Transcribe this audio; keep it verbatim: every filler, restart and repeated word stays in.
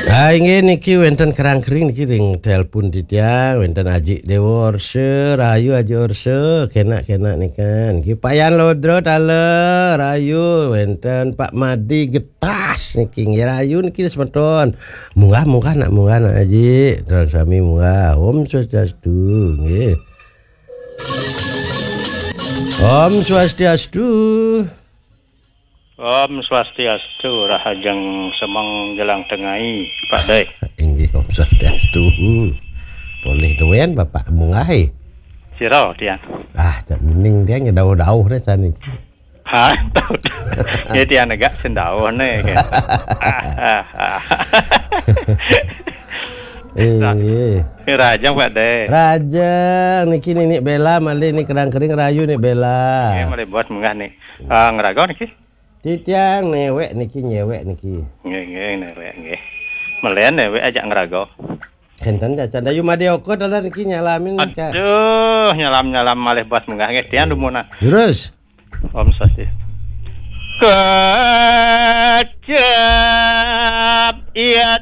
Ah, inggih niki wénten kerang kering niki ring telepon titiang, wénten Aji Dewa Orsa, rahayu Aji Orsa, kenak-kenak nika. Niki Payan Lodro taler, rahayu, wénten Pak Madi Getas niki nggih rahayu niki semeton. Munggah, munggah nak munggah nak Aji, terus sami munggah. Om Swastiastu nggih. Om Swastiastu. Om Swastiastu, rahajeng semeng jelang tengai, Pak Dai. Inggih, Om Swastiastu. Polih duen Bapak munggah. Sira, Tian? Ah, cak bening dia ngedauh-dauh deh sani. Ha, tahu. Ya, Tian agak sendauh nih, kan. Ah, ah, ah. Inggih. Rahajeng, Pak Dai. Rahajeng, niki Ninik Bela malih nih kerang kering rahayu Nik Bela. Nggih, malih buat munggah nih. Ah, ngraga niki? Titiang newek niki, nyewek niki. Nggih, nggih, newek nggih. Melen newek ajak ngraga. Kenten cacan dayu Made Oko dalan niki nyalamin ka. Aduh, nyalam-nyalam malih buat munggah nggih, Tian dumunan. Terus. Om Swastiastu. Ke